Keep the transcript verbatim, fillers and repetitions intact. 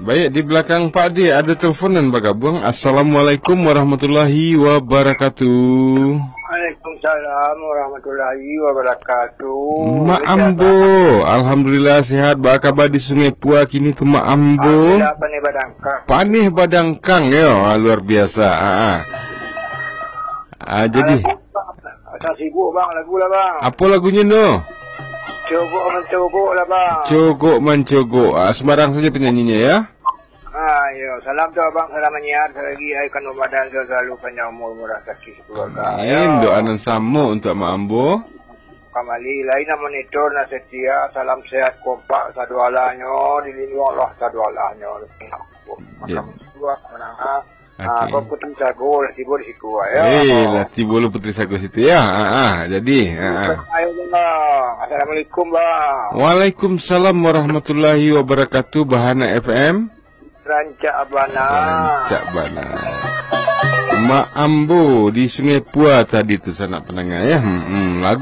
Baik, di belakang Pak D ada telepon nan bagabuang. Assalamualaikum warahmatullahi wabarakatuh. Waalaikumsalam warahmatullahi wabarakatuh. Mak Ambo, alhamdulillah sehat. Baa kaba di Sungai Pua kini tu, Mak Ambo? Alhamdulillah, paneh badangkang. Paneh badangkang, yo. Ah, luar biasa. Ah, ah. Ah, jadi. Alah, Bang. Asa sibuk, Bang, lagu lah, Bang. Apo lagunyo no? Cogok mancogok lah, Bang. Cogok mancogok. Ah, sembarang saja penyanyinya, ya. Ah, iyo. Salam tu, Abang, salam manyiar, salagi ai kandung badan, selalu panjang umur, murah rezeki, keluarga. Amin. Yo. Doa nan samo untuk Mak Ambo. Kamali, lain nan monitor, nan setia, salam sehat, kompak, sadoalahnyo, dilindungi Allah, sadoalahnyo. Ya. Makan buah, menangah. Ah, Oke. Kau Putri Sago lah tibo di situ, ah, ya. Eh, lah tibo lo Putri Sago situ, ya. Ah, ah, jadi, ah, ah. Ayo, Bang. Assalamualaikum, Bang. Waalaikumsalam warahmatullahi wabarakatuh, Bahana F M. Rancak bana. Rancak bana. Mak Ambo di Sungai Pua tadi tu, sanak pandanga, ya. Hmm, hmm. Lagu